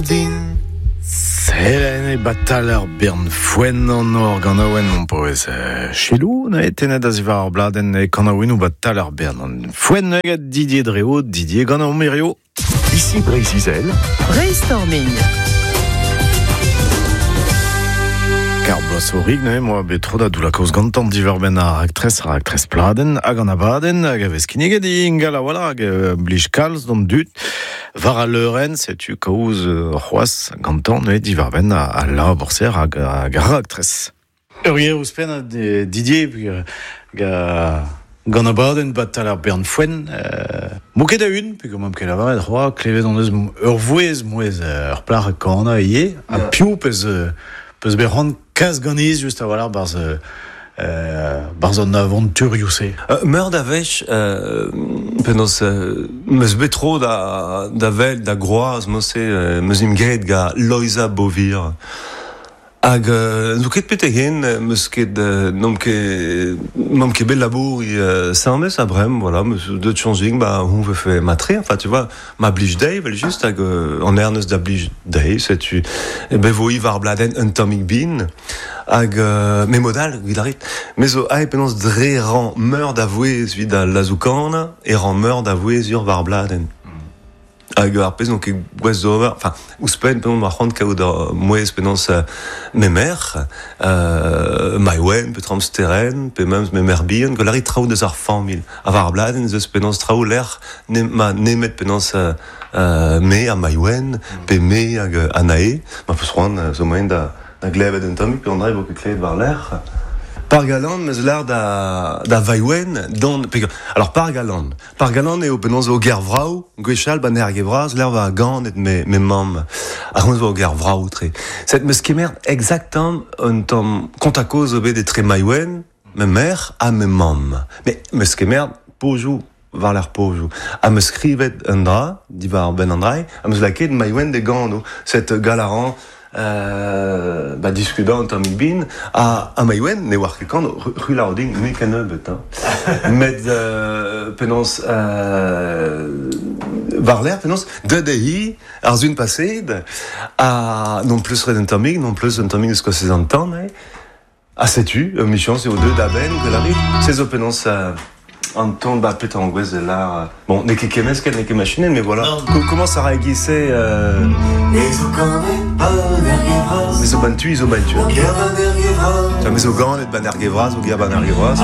Din. Selene batal ar bern foenn an or ganaouenn on poez chelou na tenet a zivar ar bladenn e kanaouennoù batal ar bern an foenn hag Didier Dreo, Didier gant an mirio. Ici Breizh-Izel. Brainstorming. Kar bloaz orig neuze moa bet tro da doulla kaoz gantan diwar-benn ar raktres, ar raktres pladenn hag an abadenn hag a vez kinniget ingal a-walc'h hag blij kalz d'an dud war al leurenn, setu kaoz c'hoazh gantan neuze diwar-benn al labour-se hag ar raktres. Ur ger ouzhpenn Didier gant abadenn batal ar bern foenn mo ket a-un, peogwir m'am ket lavaret c'hoazh, klevet hon eus ur vouezh, mouezh ur plac'h kanañ ivez, ha piv peus peus bet c'hoant kas ganez just a-walc'h barzh barzh an avanturioù-se. Meur da wech penaos meus bet tro da da wel da groaz mod-se meus em graet gant Loeiza Beauvir. Hag n'zo ket betek-hen 'meus ket n'omp ket n'omp ket bet labouriñ asambles ha bremañ voilà 'meus deuet soñj din ba on vefe matre enfin tu vois ma blij dezhi evel-just hag an ernez da blij dezhi setu bet vo ivez ar bladenn un tammig bin hag me mod all evit a rit me zo aet penaos dre rañ meur da vouezh evit al lazoù-kanañ e rañ meur da vouezh ur war ar bladenn. Hag ar pezh n'on ket gouest d'ober, enfin, ouzhpenn penaos ma c'hoant kaout ur mouezh penaos me merc'h, Maïwenn pe Tramsteren, pe memes me merc'h bihan, gwell a rit traoù deus ar familh. Ha war ar bladenn ez eus penaos traoù lec'h ne ma nemet penaos me ha Maïwenn, pe me hag Anae, ma peus c'hoant zo moaien da da glevet un tammig pe an dra e vo ket klevet war-lerc'h. Pargalan 'meus lâr da da Vaïwenn dont alors Pargalan Pargalan eo penaos eo ger vrav gwechall ba Nerge Vras lec'h va ganet me me mamm. Ar c'honz vo ger vrav-tre. Set 'meus kemeret exactement un tamm kontañ-kozh zo bet etre Maïwenn, ma merc'h ha ma mamm. Met 'meus kemeret pozioù war-lerc'h pozioù. Ha 'meus skrivet un dra diwar-benn an dra-se, ha 'meus lakaet Maïwenn da gano. Set gall a ran ba diskudañ un tammig bin ha ha Maïwenn ne oar ket kan c'hwi din mui kennebeut hein. Met penaos war-lerc'h penaos deuet eo hi ar sun paseet ha non plus ret un tammig non plus un tammig eus kostez an tan eo. Ha setu, emichañs eo deuet a-benn gwell Se zo penaos an ton ba petra an gwez lar bon n'eo ket kemmesket n'eo ket machinenn mais voilà comment ça ra e-giz-se Me zo ban tu, zo ban tu. Me zo ganet ban Erge Vras, o ger ban Erge Vras.